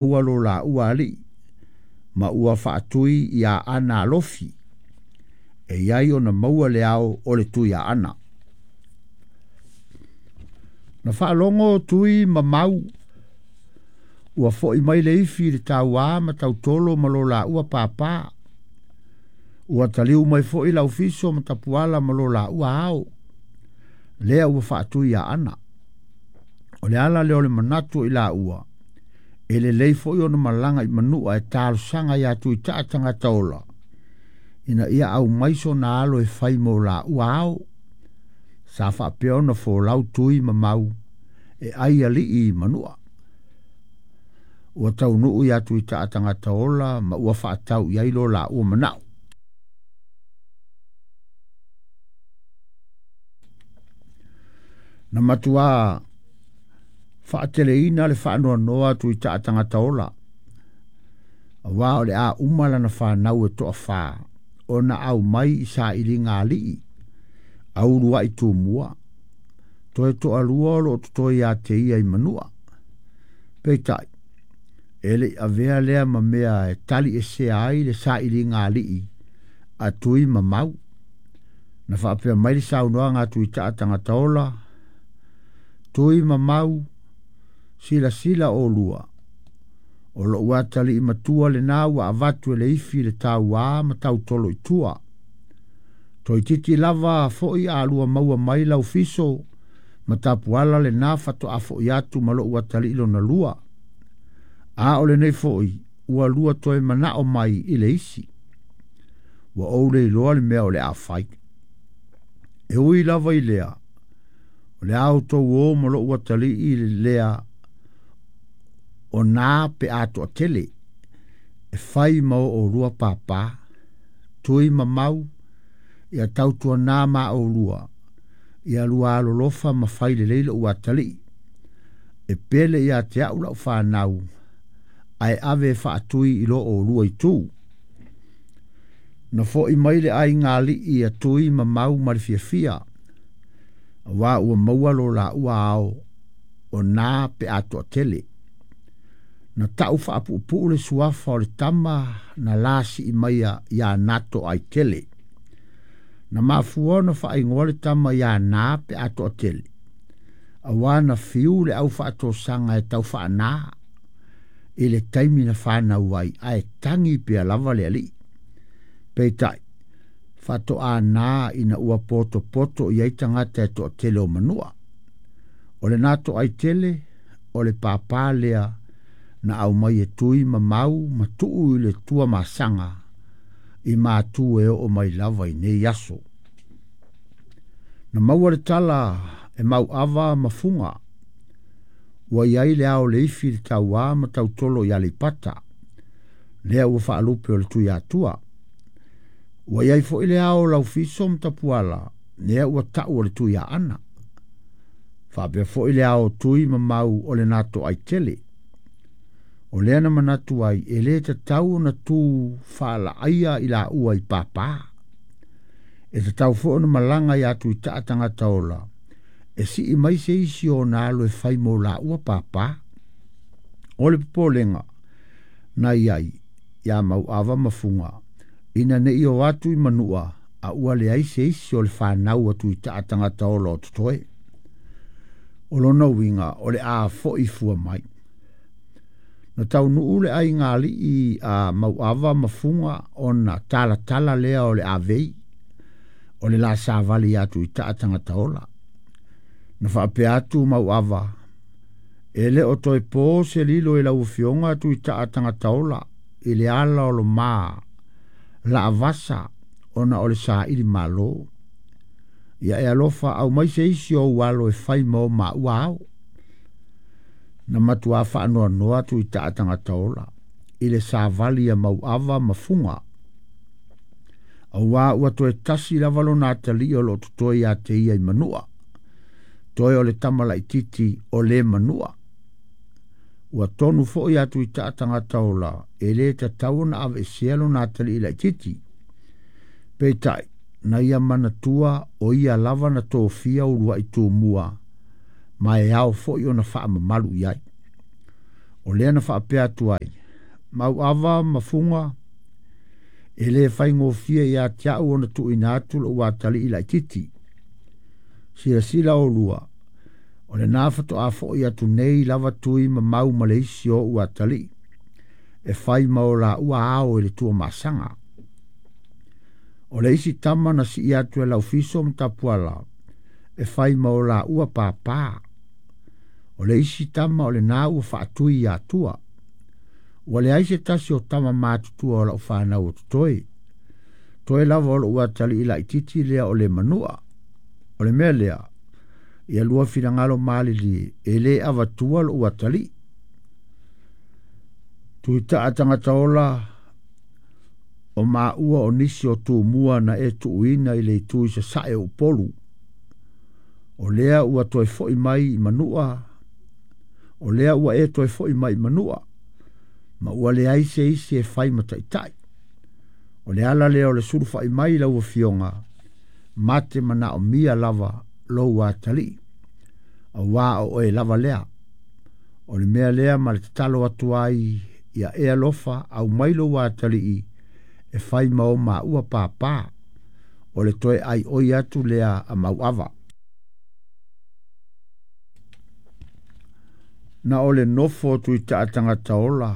Maua lo laua alii ma ua faatui iā Aana Alofi e i ai ona maua le ao o le Tuiaana. Na faalogo Tui ma Mau ua fo'i mai le ifi i le tauā ma Tautolo ma lo laua pāpā. Ua taliu mai fo'i Laufiso ma Tapuala ma lo laua ao, lea ua faatui iā Aana. O le ala lea o le manatu o i laua, e lelei foi ona malaga i Manua e talosaga iā Tuitaa tagata ola, ina ia aumai sona alo e fai mo laua ao. Sa faapea ona folau Tui ma Mau e ai alii i Manua. Ua taunuu iā Tuitaa tagata ola ma ua faatau i ai lo laua manao. Na matuā faateleina le faanoanoa a Tuitaa tagata ola, auā o le a uma lana fanau e toafā ona aumai i sailiga alii a uluai Tumua, toe toalua o loo totoe ia te ia i Manua. Peitai, e le i avea lea ma mea e taliesea ai le sailiga alii a Tui ma Mau. Na faapea mai le saunoaga a Tuitaa tagata ola, Tui ma Mau, silasila oulua, o lou atalii matua lena ua avatu e le ifi i le tauā ma Tautolo i tua. Toeitiiti lava foi a lua maua mai Laufiso ma Tapuala lena faatoa foi atu ma lou atalii lona lua. A o lenei foi ua lua toe manao mai i le isi. Ua ou le iloa le mea o le a fai. E ui lava i lea, o le a outou o ma lou atalii lea o na pe a toatele, e fai ma o oulua pāpā, Tui ma Mau, ia tautuanā ma oulua, ia lua alolofa ma fai lelei lou atalii. E pele ia te au lau fanau, ae ave e faatui i lo oulua itu. Na fo'i mai le aiga alii a Tui ma Mau ma le fiafia, auā ua maua lo laua ao o na pe a toatele. Na ta'u faapuupuu le suafa o le tama na lasii maia iā Nato Aitele. Na mafua ona faaigoa le tama iā Na pe a toatele, auā na fiu le au faatosaga e tau faanā i le taimi na fanau ai, ae tagi pea lava le alii. Peitai, faatoa na ina ua potopoto i ai tagata e toatele o Manua. O le Nato Aitele, o le pāpā lea na aumai e Tui ma Mau ma tuu i le Tuamasaga i matu e oo mai lava i nei aso. Na maua le tala e Mauava ma Fuga, ua i ai le ao o le ifi i le tauā ma Tautolo i Aleipata, lea ua faalupe o le Tuiatua. Ua i ai foi le ao o Laufiso ma Tapuala, lea ua ta'u o le Tuiaana. Faapea foi le ao o Tui ma Mau o le Nato Aitele. O lea na manatu ai e lē tatau ona tū faalaaia i laua i pāpā. E tatau foi ona malaga iā Tuitaa tagata ola e sii mai se isi o ona alo e fai mo laua pāpā. O le popolega na i ai iā Mauava ma Fuga ina ne i o atu i Manua a ua leai se isi o le fanau a Tuitaa tagata ola o totoe. O lona uiga o le a fo'i fua mai. Na taunuu le aiga alii a Mauava ma Fuga ona talatala lea o le avei o le la savali iā Tuitaa tagata ola. Na faapea atu Mauava, E le o toe po se lilo i lau afioga Tuitaa tagata ola i le ala o lo ma laavasa ona o le saili malo. Ia e alofa aumai se isi o ou alo e fai ma o maua ao. Na matuā faanoanoa Tuitaa tagata ola i le savali a Mauava ma Fuga, auā ua toe tasi lava lona atalii o loo totoe ia te ia i Manua, toe o le tama laitiiti o le Manua. Ua tonu foi iā Tuitaa tagata ola e lē tatau ona aveesea lona atalii laitiiti. Peitai, na ia manatua o ia lava na tofia uluai Tumua ma e ao foi ona faamamalu i ai. O lea na faapea atu ai, Mauava ma Fuga, e lē faigofie iā te a'u ona tuuina atu lo'u atalii laititi. Silasila olua, o lenā fatoā fo'i atu nei lava Tui ma Mau ma le isi o o'u atalii, e fai ma o laua ao i le Tuamasaga. O le isi tama na sii atu e Laufiso ma Tapuala, e fai ma o laua pāpā. O le isi tama o lenā ua faatui iā Tua. Ua leai se tasi o tama matutua o la'u fanau o totoe. Toe lava o lo'u atalii laititi lea o Lemanu'a. O le mea lea, ia lua finagalo malilie, e lē avatua lo'u atalii. Tuita'a tagata ola o maua o nisi o Tumua na e tuuina i le itu i sasa'e o Upolu. O lea ua toe fo'i mai i Manu'a, o lea ua e toe fo'i mai i Manu'a, ma ua leai se isi e fai ma ta'ita'i. O le ala lea o le sulufa'i mai i lau afioga, ma te manaomia lava lou atalii, auā o oe lava lea. O le mea lea ma le tatalo atu ai ia e alofa aumai lou atalii e fai ma o maua pāpā. O le toe ʻaiʻoi atu lea a Mauava. Na o le nofo Tuita'a tagata ola,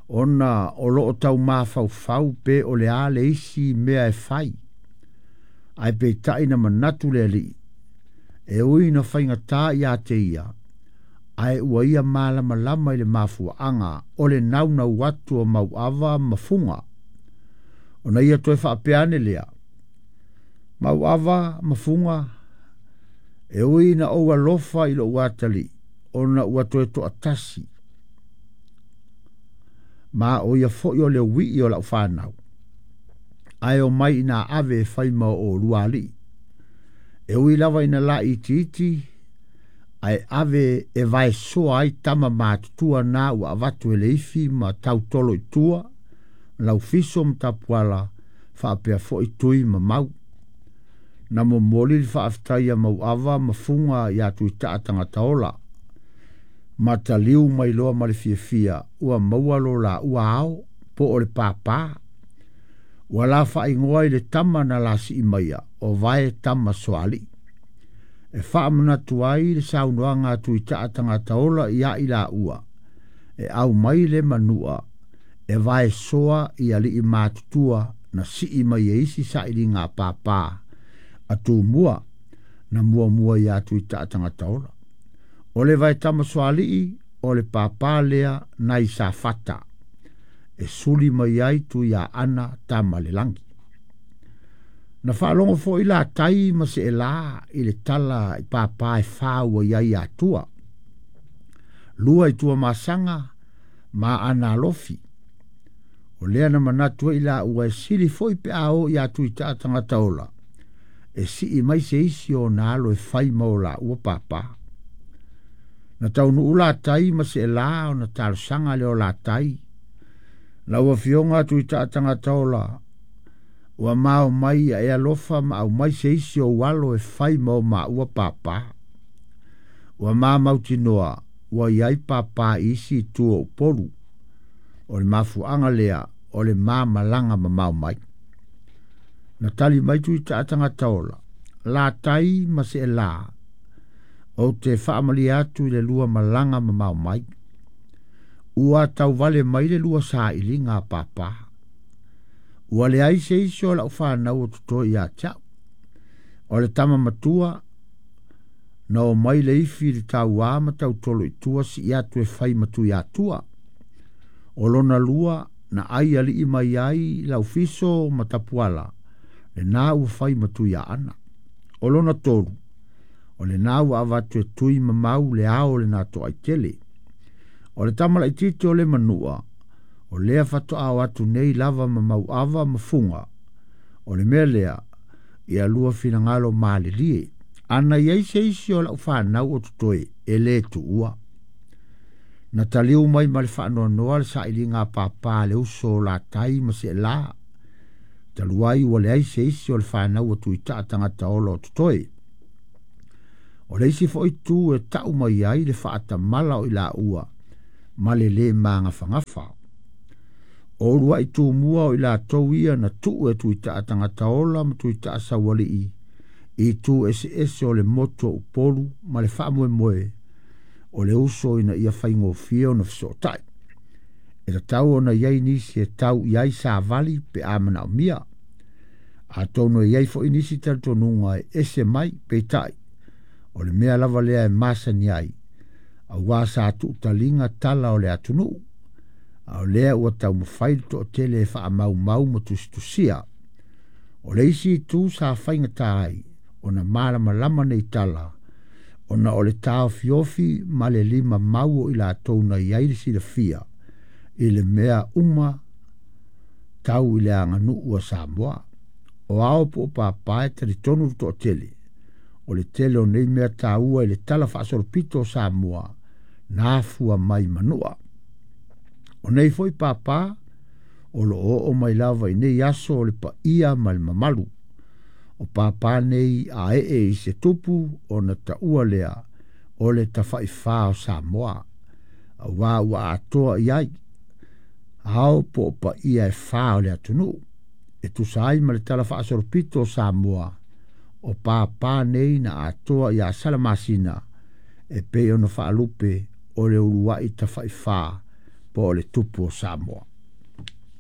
ona o loo tau mafaufau pe o le a le isi mea e fai. Ae peitai na manatu le alii, e ui na faigata iā te ia, ae ua ia malamalama i le mafuaaga o le naunau atu o Mauava ma Fuga. Ona ia toe faapea ane lea, Mauava ma Fuga, e ui na ou alofa i lou atalii, ona ua toe toatasi, ma o ia foi o le ui'i o la'u fanau, ae omai ina ave e fai ma o oulua alii. E ui lava ina laitiiti, ae ave e vaesoa ai tama matutua na ua avatu e Leifi ma Tautolo i tua, Laufiso ma Tapuala, faapea foi Tui ma Mau. Na momoli le faafetai a Mauava ma Fuga iā Tuita'a tagata ola, ma taliu mai loa ma le fiafia ua maua lo laua ao po o le pāpā. Ua la faaigoa i le tama na lasii maia o Vae tama Soali'i. E faamanatu ai le saunoaga a Tuita'a tagata ola iā i laua, e aumai le Manu'a e vaesoa i alii matutua na sii mai e isi sailiga a pāpā a Tumua na muamua iā Tuita'a tagata ola. O le Vaetama Soali'i o le pāpā lea nai Safata e suli mai ai Tuiaana tama le lagi. Na faalogo foi Latai ma Seelā i le tala i pāpā e fā ua i ai Atua. Lua i Tuamasaga ma Analofi. O lea na manatu ai laua e sili foi pe a o iā Tuita'a tagata ola, e sii mai se isi o ona alo e fai ma o laua pāpā. Na taunuu Latai ma Seelā ona talosaga lea o Latai. Lau afioga Tuita'a tagata ola, ua mao mai ia e alofa ma aumai se isi o ou alo e fai ma o maua pāpā. Ua ma mautinoa ua i ai pāpā i isi itu o Upolu. O le mafuaaga lea o le ma malaga mamao mai. Na tali mai Tuita'a tagata ola, Latai ma Seelā, ou te faamalie atu i le lua malaga mamao mai. Ua tauvale mai le lua sailiga a pāpā. Ua leai se isi o la'u fanau o totoe iā te a'u. O le tama matua, na omai Leifi i le tauā ma Tautolo i tua sii atu e fai ma Tuiatua. O lona lua, na ai alii mai ai Laufiso ma Tapuala, lenā ua fai ma Tuiaana. O lona tolu, o lenā ua avatu e Tui ma Mau le ao o lenā toaitele. O le tama laitiiti o le Manu'a, o lea fatoā o atu nei lava ma Mauava ma Fuga. O le mea lea, ia lua finagalo malilie. Ana i ai se isi o la'u fanau o totoe, e lē tuua. Na taliu mai ma le faanoanoa le sailiga a pāpā a le uso o Latai ma Seelā, talu ai ua leai se isi o le fanau a Tuita'a tagata ola o totoe. O le isi foi itu e ta'u mai ai le faatamala o i laua ma le lē magafagafa. O uluaʻi tumua o i latou ia na tuu e Tuitaʻa Tagataola ma Tuitaʻa Saualiʻi i itu eseese o le motu o Upolu ma le faamoemoe o le uso ina ia faigofie ona fesootai. E tatau ona i ai nisi e tau i ai savali pe a manaomia. Atonu e i ai foi nisi talitonuga e ese mai, peitai, o le mea lava lea e masani ai, auā sa tuutaliga tala o le atunuu, a o lea ua taumafai le toatele e faamaumau ma tusitusia. O le isi itu sa faigata ai ona malamalama nei tala, ona o le taofiofi ma le lima mau o i latou na i ai le silafia i le mea uma tau i le aganuu a Samoa. O ao po o pāpā e talitonu le toatele, o le tele o nei mea taua i le tala faasolopito o Samoa na afua mai Manua. O nei foi pāpā o lo o oo mai lava i nei aso o le paia ma le mamalu. O pāpā nei a ee i se tupu ona taua lea o le tafaifā o Samoa, auā ua atoa i ai ao po o paia e fā o le atunuu. E tusa ai ma le tala faasolopito o Samoa, o pāpā nei na atoa iā Salamasina e pei ona faalupe o le uluai tafaifā po o le tupu o Samoa.